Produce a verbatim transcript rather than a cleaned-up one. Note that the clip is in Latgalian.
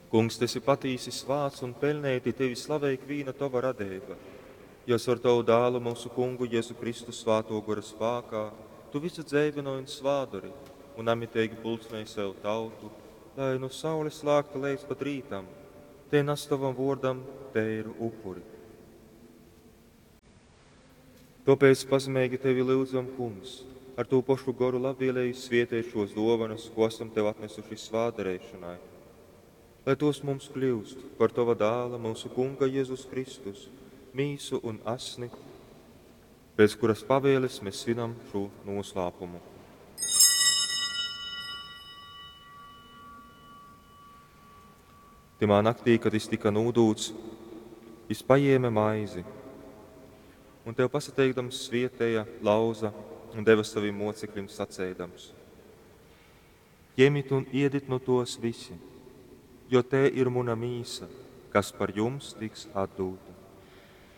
Kungs, tu esi patīsi svāts un peļneiti tevi slavej ikvīna tova radeiba, jo caur tovu dālu mūsu kungu Jēzu Kristu svātō gora spākā tu visu dzeivynoj un svādori un namiteigi pulcnej sev tautu, lai nu saules lākta leidz pat rītam, te nas tovam vōrdam teiru upuri. Tōpēc pazemeigi tevi lyudzam, Kungs, ar tū pošu goru labvēlīgi svieteit šos dōvanas, ko esam tev atnesuši svātdareišanai. Lai tos mums kļūst par tova dāla, mūsu Kunga Jēzus Kristus, mīsu un asni, pēc kuras pavēles mēs svinam šo noslēpumu. Timā naktī, kad jis tika nūdūts, jis paņēma maizi un tev pasateikdams svietēja, lauza un deva saviem mocekļiem sacēdams: Ņemit un iedit no tos visi, jo te ir muna mīsa, kas par jums tiks atdūta.